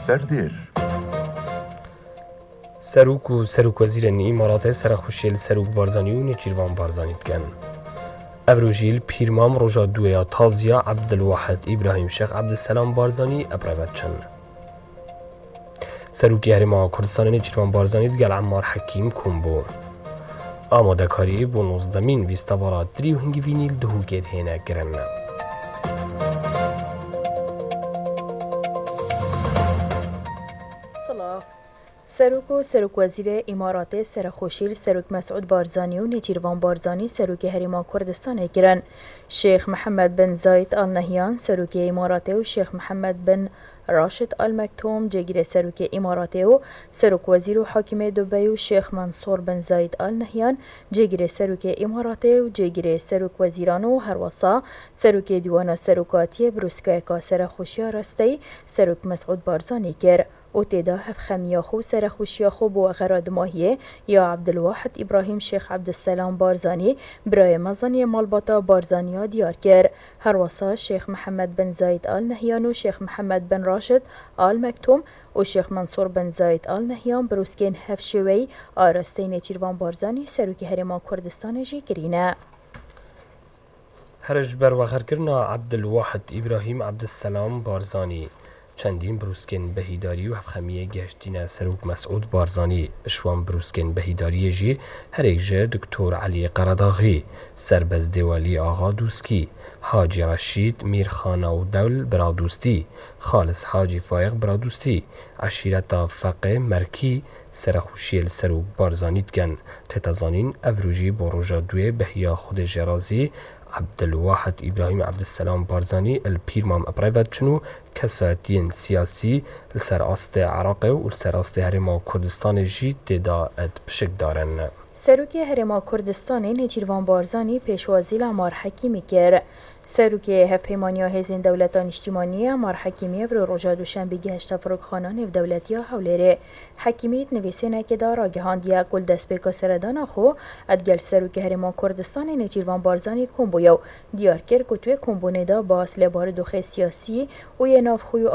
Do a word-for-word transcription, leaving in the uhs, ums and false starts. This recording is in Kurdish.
Serdêr. Serok û serokwezîrên Îmaratê serexweşiyê li Serok Barzanî û Nêçîrvan Barzanî dikin. Ev rojî li Pîrmam roja duwê ya taziya Ebdilwahid Îbrahîm Şêx Ebdilselam Barzanî epreve diçin. Serokê Herêma Kurdistanê Nêçîrvan Barzanî digel Emmar Hekîm kom bû. Amadekarî bo nozdemîn festîvala Dirî û Hingivînî li Duhokê dihêne kirin. Silav. Serok û serokwezîrê Îmaratê serexweşî li Serok Mesûd Barzanî û Nêçîrvan Barzanî serokê Herêma Kurdistanê kirin. Şêx Mihemed bin Zayid Al Nehyan serokê Îmaratê û Şêx Mihemed bin Raşid Al Mektum cêgirê serokê Îmaratê û serokwezîr û hakimê Dubey û Şêx Mensûr bin Zayid Al Nehyan cêgirê serokê Îmaratê û cêgirê serokwezîran û herwesa serokê Dîwana Serokatiyê brûskayeka serexweşiya rasteyî Serok Mesûd Barzanî kir û tê de hevxemiya xwe û serexweşiya xwe bo wexera dimahiyê ya Ebdilwahid Îbrahîm Şêx Ebdilselam Barzanî, birayê mezin yê malbata Barzaniya diyar kir. Herwesa Şêx Mihemed bin Zayid Al Nehyan û Şêx Mihemed bin Raşid Al Mektum û Şêx Mensûr bin Zayid Al Nehyan brûskên hevşêweyî a rasteyî Nêçîrvan Barzanî serokê Herêma Kurdistanê jî kirîne. Here ji ber wexerkirina Ebdilwahid Îbrahîm Ebdilselam Barzanî, çendîn brûskên behîdarî û hevxemiyê gihiştîne Serok Mesûd Barzanî. Ji wan brûskên behîdariyê jî herêk ji Doktor Elî Qeredaxî, Serbest Dêwalî Axa Dûskî, Hacî Reşîd Mîrxana û Dewl Biradûstî, Xalis Hacî Fayîq Biradûstî, eşîreta Feqê Merkî, serexweşiyê li Serok Barzanî dikin. Tête zanîn, ev rojî bo roja duwê behiya Xwedê jê razî Ebdilwahid Îbrahîm Ebdilselam Barzanî li Pîrmam epreve diçin û kesayetiyên siyasî li ser astê Iraqê û li ser astê Herêma Kurdistanê jî tê de pişik darin. Serokê Herêma Kurdistanê Nêçîrvan Barzanî pêşwazî li Emmar Hekîmî kir. Serokê Hevpeymaniya Hêzên Dewleta Niştimanî Emmar Hekîmî evro roja Duşenbê gihişte Firokxana Nêvdewletî ya Hewlêrê. Hekîmî di nivîsênekê de ragihandiye ku li destpêka seredana xwe digel Serokê Herêma Kurdistanê Nêçîrvan Barzanî kom bûye û diyar kir ku di wê kombûnê de bas li barodoxê siyasî û yê navxwe û